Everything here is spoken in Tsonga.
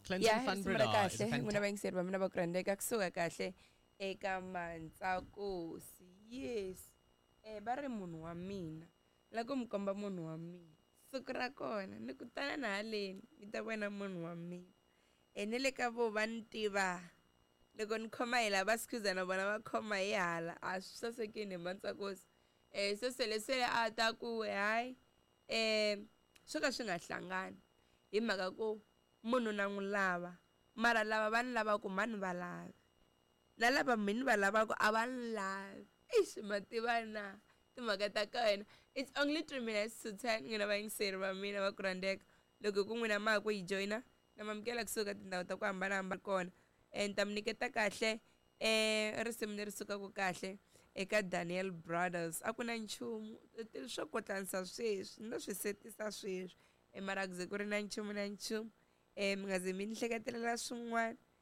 Clinton Ya, van risimu ra Breda is a kahle, n'wina vayingiseri va mina va ku rhandzeka, kusuka kahle eka Mantsakosi. Yes, va ri munhu wa mina la ku mi komba munhu wa mina siku ra kona ni ku tana na haleni mi ta vona munhu wa mina. Na le ka vo va ni tiva loko ni khoma hi lava sikhuza na vona va khoma hi hala, a swi sasekini hi Mantsakosi. Se selesele a ta ku hayi, swo ka swi nga hlangani hi mhaka ku munhu na n'wi lava, mara lava va ni lavaka mhani va lavi, na lava mhani va lavaka a va ni lavi. Ixi, ma tiva na timhaka ta ka wena. It's only 9:53, n'wina vayingiseri va mina va ku rhandzeka. Loko ku n'wina ma ha ku yi joyina, na mamukela kusuka tindhawu ta ku hambanahambana kona. Ni ta mi nyiketa kahle risimu leri sukaka kahle eka Daniel Brothers. A ku na nchumu swo kotlanisa sweswi, ni lo swi setisa sweswi, mara ku ze ku ri na nchumu na nchumu, mi nga ze mi ni hleketelela swin'wana.